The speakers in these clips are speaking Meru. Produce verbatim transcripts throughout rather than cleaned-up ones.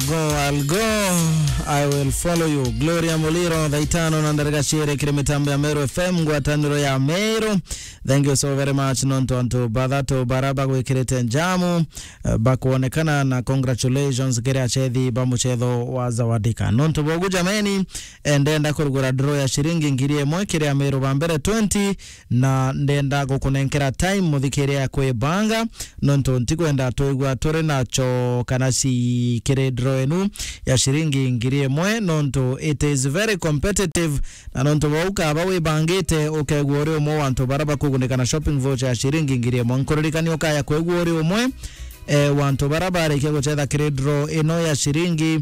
Go, I'll go. I will follow you. Gloria Muliro, thaa itano na ndarika ciiri kiri mitambo ya Meru F M, ngwataniro ya Meru. Thank you so very much. Nontu antu bathatu bara bagwikirite njamu, eh, bakwonekana, na congratulations kiri achethi ba muchetho wa Zawadika. Nontu bogu jameni, eh, ndenda kurugura draw ya ciringi ngiri imwe kiri Ameru ba mbere twenty, na ndenda gukunenkera time muthikiria ya kwibanga, nontu ntikwenda twigua turi nacho kana ci kiri draw enu ya ciringi ngiri imwe, nontu it is very competitive, na nontu bau kaba wibangite, ukegua uri umwe wa antu bara bakugunika na shopping voucher ya ciringi ngiri imwe. Nkuririkania ukaya kwigua uri umwe, eh, wa antu bara barikia guchetha kiri draw ino ya ciringi,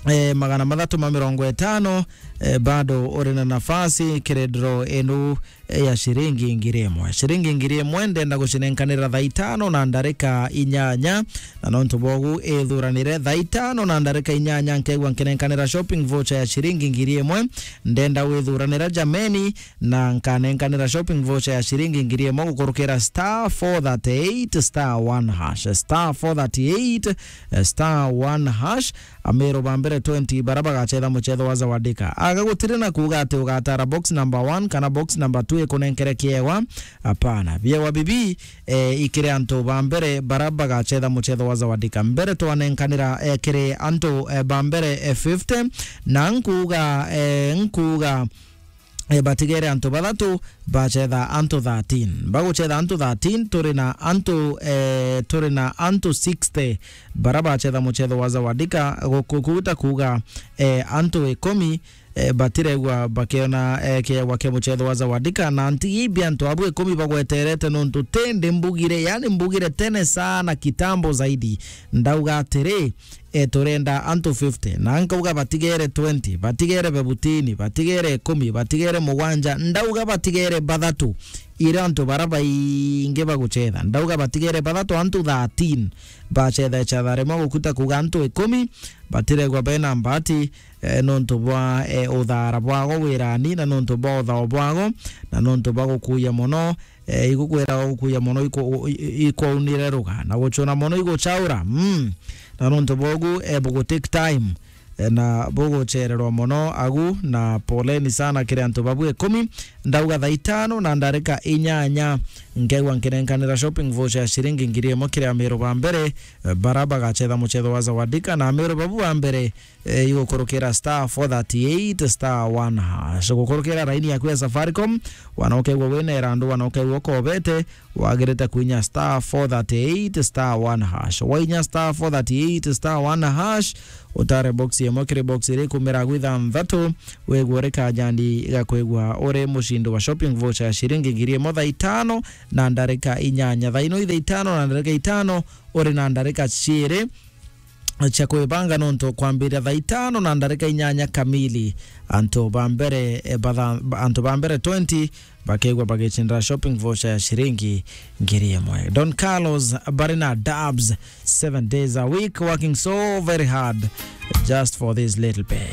eh, magana mathatu ma mirongo itano, eh, bado uri na nafasi kiri draw inu, eh, ya ciringi ngiri imwe. Ciringi ngiri imwe ndenda gucinenkanira thaa itano na ndarika inyanya, na nontu bogu ithuranire thaa itano na ndarika inyanya, nkegua nkinenkanira shopping voucher ya ciringi ngiri imwe. Ndenda withuranira jameni, na nkanenkanira shopping voucher ya ciringi ngiri imwe gukurukira star four thirty eight star one hash, star four thirty eight, eh, star one hash. Ameru ba mbere twenty bara bagachetha muchetho wa Zawadika. Aga gutiri na kuuga ati ugatara box number one kana box number two ikunenkere kiewa. Hapana. Biewa bibi, eh, ikiri antu ba mbere bara bagachetha muchetho wa Zawadika. Mbere twanenkanira, eh, kiri antu, eh, ba mbere, eh, fifty, na nkuuga, eh, nkuuga, eh, batigere antu bathatu, bachetha antu thirteen. Baguchetha antu thirteen, turi na antu, eh, turi na antu sixty bara bachetha muchetho wa Zawadika, gu-, gu-, guta kuuga, eh, antu ikumi, eh, batiregwa bakiona, eh, kiegwa kia muchetho wa Zawadika, na ntigi ibi antu abu ikumi bagweterete, nontu tindi mbugire, yani mbugire tene sana, kitambo zaidi, ndauga atiri, eh, turenda antu fifty, na nkauga batigere twenty, batigere bebutini, batigere ikumi, batigere mugwanja, ndauga batigere bathatu, ira antu bara baingi baguchetha, ndauga batigere bathatu, antu thirteen bachetha ichetha rimwe, gukuta kuuga antu ikumi batiregwa bena mbati, eh, nontu bwa, eh, uthara bwago wirani, na nontu bwa uthao bwago, na nontu bwa gukuya mono, eh, igukwira gukuya mono iku-, i-, i-, ikwaunire ruga, na guchuna mono iguchaura. Mm. Na nontu bogu, eh, bugu take time, eh, na buguchererwa mono agu, na poleni sana kiri antu babu ikumi. Ndauga thaa itano na ndarika inyanya, nkegwa nkinenkanira shopping voucher ya ciringi ngiri imwe kiri Ameru ba mbere, eh, bara bagachetha muchetho wa Zawadika, na Ameru babu ba mbere, eh, igukurukira star four thirty eight star one hash. Gukurukira raini yaku ya Safaricom, wana ukegwa wina irandu, wana ukegwa ukobete, wagirite kuinya star four thirty eight star one hash. Wainya star four thirty eight star one hash, utare box imwe kiri box iri kumira gwitha nthatu, wegwa uri kajandi ga kwegwa uri mushindi wa shopping voucher ya ciringi ngiri imwe thaa itano na ndarika inyanya. Thaa ino ithaa itano na ndarika itano, uri na ndarika ciiri cia kwibanga, nontu kwambiria thaa itano na ndarika inyanya kamili, antu ba mbere, eh, batha-, antu ba mbere twenty bakegwa bagicindira shopping voucher ya ciringi ngiri imwe. Don Carlos bari na Dubs, seven days a week, working so very hard just for this little pay.